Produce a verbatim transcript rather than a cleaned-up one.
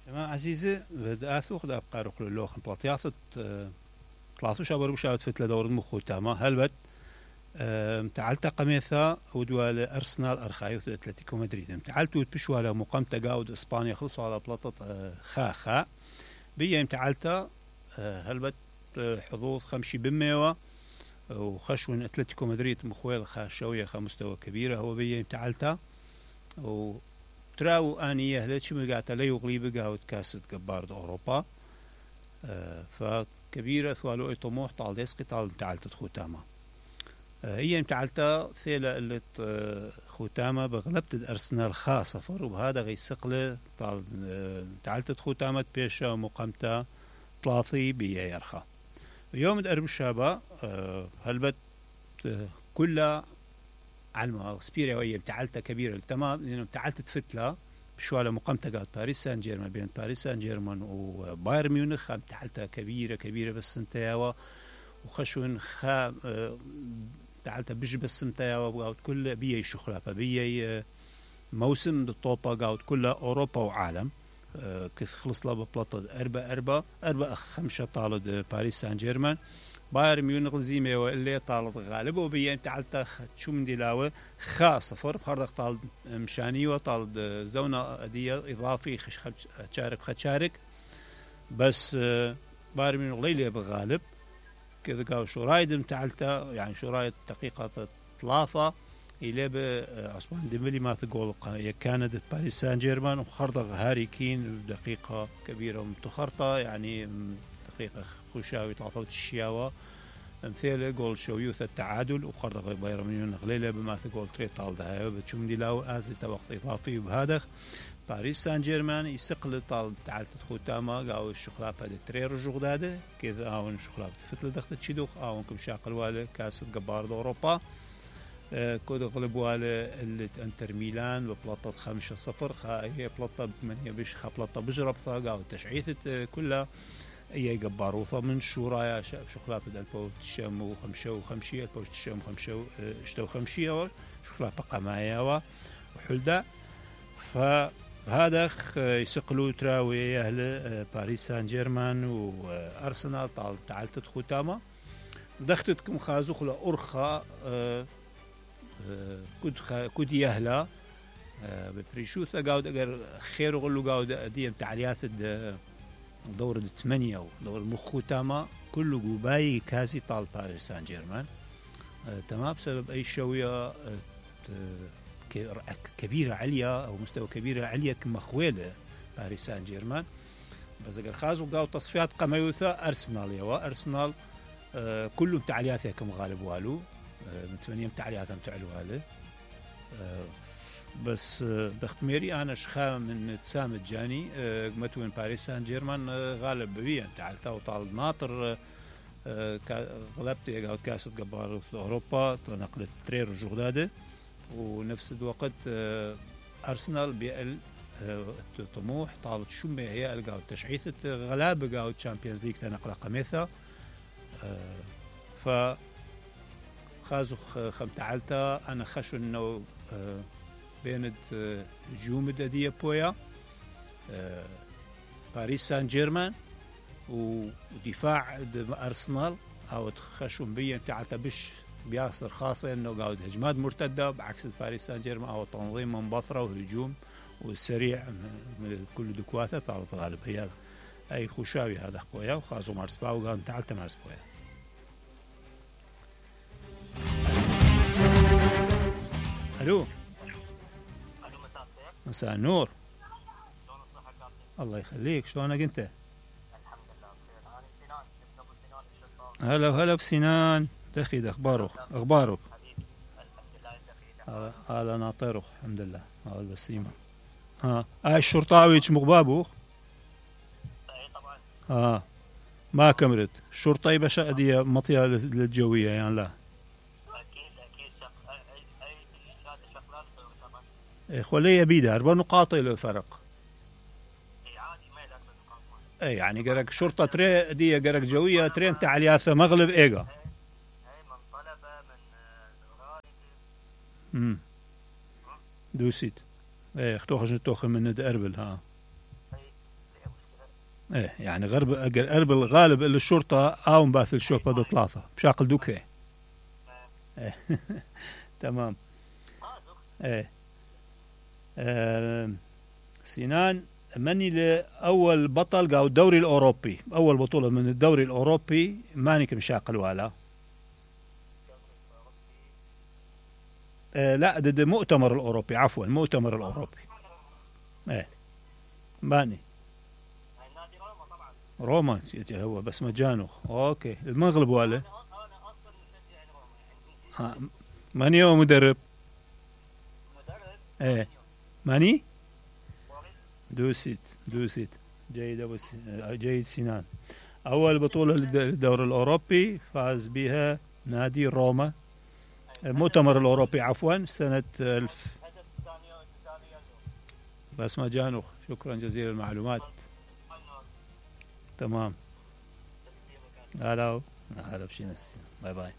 جماعة عزيزة بدأثو خد أبقى روح للوخ بلاطياثة ثلاثة شابر وشاوت فتلة دور المخو تاما هلبت تعالت قميثا ودوال أرسنال أرخايوث أتلتيكو مدريد تعالتو بشوالا مقامتا قاود إسبانيا خلصوا على بلاطة خا خا بيا تعالتا هلبت حظوظ خمشي بميوة وخشون أتلتيكو مدريد مخويل خا شوية خا مستوى كبيرة هو بيا تعالتا و تراو آنية هلتش مقاتا لي وغليب قاود كاسة قبارد أوروبا أه فكبيرة ثوالو اي طموح طال ديسقي طال تعالت خوتاما أه هي تعالتا ثيلة اللي خوتاما بغلبت الأرسنال خاصة فر وبهذا غي سقلة طال أه تعالت خوتاما بيشا مقامتا طلاثي بيا يرخا يوم الأرب الشابة أه هلبت أه كلها على سبيريا وهي تعالتا كبيرة تمام لأنه تعالت فتلة بشوالا مقامتا قال باريس سان جيرمان بين باريس سان جيرمان وباير ميونخ تعالتا كبيرة كبيرة بس سنتياوا وخشون خا تعالتا بيج بس سنتياوا قاعد كل بيا شخلة بيا موسم الطوبة قاعد كلها أوروبا وعالم كث خلص لها ببلاطة أربعة أربعة أربعة خمسة طالد باريس سان جيرمان باير ميونخ زيمي واللي طالت غالب وبين تعالت شو من دلاوة خاصة صفر بخردق طال مشاني وطال زونة دي إضافي خش خشارك خشارك بس باير ميونخ ليلة بغالب كذا قالوا شو رايد تعالت يعني شو رايد دقيقة ثلاثة إلى بعثمان ديمبلي ما تقول كانت باريس سان جيرمان وخردق هاري كين دقيقة كبيرة ومتخرطة يعني دقيقة خوشاوي ثلاثة الشياوة مثل جول شويوث التعادل وخرج بايرن ميونخ ليلة بما تقول تري طال ده بتشوم دي لاو أزت وقت إضافي وبهذا باريس سان جيرمان يسقل طال تعالت خوتاما قاو الشغلات هذا تري رجوع ده كذا أو الشغلات فتل دخلت تشيدوخ أو كم شاقل واله كاس جبار أوروبا كود غلب واله اللي انتر ميلان ببلاطة خمسة صفر هي بلاطة بمنية بش خا بلاطة بجرب قاو تشعيثة كلها أي جبار وثمن شورايا شخلات البو تشام وخمسة وخمسية البو تشام خمسة اشتو خمسية شخلات بقى معايا وحلدا فهذا يسقلوا تراوي أهل باريس سان جيرمان وأرسنال طال تعالت خوتاما دختتكم خازوخ لأرخا كود كود يهلا ببريشوثا قاود أجر خير وغلو قاود ديم تعليات دور الثمانية ودور المخوتاما كله جوباي كازي طال باريس سان جيرمان آه تمام بسبب أي شوية آه كبيرة عليا أو مستوى كبيرة عليا كمخويلة باريس سان جيرمان بس أجر خازو قاو تصفيات قميوثا أرسنال يوا أرسنال آه كلهم تعلياتها كم غالب والو آه من ثمانية تعلياتهم تعلو هذا آه بس بختميري أنا شخا من تسام الجاني متوين باريس سان جيرمان غالب بيا تعالتا وطال ناطر غلبت يقعد كاسة جبار في أوروبا نقلت ترير جغدادة ونفس الوقت أرسنال بيقل طموح طالت شمة هي الجاود تشعيثة غلابة جاود تشامبيونز ليج تنقل قميثة ف خازو خم تعالتا أنا خشوا إنه بيند جومد دي بويا باريس سان جيرمان ودفاع أرسنال أو تخشون بيا تعالتا بش بياسر خاصة إنه قاعد هجمات مرتدة بعكس باريس سان جيرمان أو تنظيم منبثرة وهجوم والسريع من كل دكواته طالت غالب هي أي خوشاوي هذا خويا وخاصو مارس باو قام تعالتا مارس بويا ألو مساء النور. شلون الصحة كابتن؟ الله يخليك، شلونك انت؟ الحمد لله بخير. انا سنان ابن ابو سنان الشطار. هلا وهلا بسنان، دخيد اخبارك؟ اخبارك؟ حبيبي الحمد لله دخيد. هلا هلا ناطرك الحمد لله. هلا بسيمة. ها هاي الشرطاوي مغبابو؟ اي طبعا. اه ما كملت الشرطة بشا دي مطية للجوية يعني لا. اكيد اكيد شق... اي اي شهاده شغلات طبعا. اي خليه بيده اربع نقاط له فرق. اي عادي ما يلعب نقاط. اي يعني قرك شرطة تري دي قرك جوية ترين تعلياثة مغلب ايجا. اي من طلبة من غارب. امم دوسيت. اي اختوخش نتوخ من ند اربل ها. اي ايه يعني غرب قرب الغالب اللي الشرطة او مباث الشوف هذا ثلاثة بشاقل دوكه. ايه تمام. ايه آه سنان مني لأول بطل قاو الدوري الأوروبي، أول بطولة من الدوري الأوروبي ماني كمشاقل ولا آه لا ضد المؤتمر الأوروبي، عفوا المؤتمر الأوروبي. ايه ماني نادي روما طبعا. روما هو بس مجانو. اوكي المغلب ولا انا انا اصلا مشجع روما يعني. ها ماني هو مدرب. مدرب. ايه ماني موريس. دوسيت دوسيت جيد أبو س... جيد سنان. أول بطولة للدوري الأوروبي فاز بها نادي روما، المؤتمر الأوروبي عفوا سنة ألف. هدف دانيال دانيال. بس مجانو. شكرا جزيلا المعلومات. تمام. هلا هلا بشي نفسي. باي باي.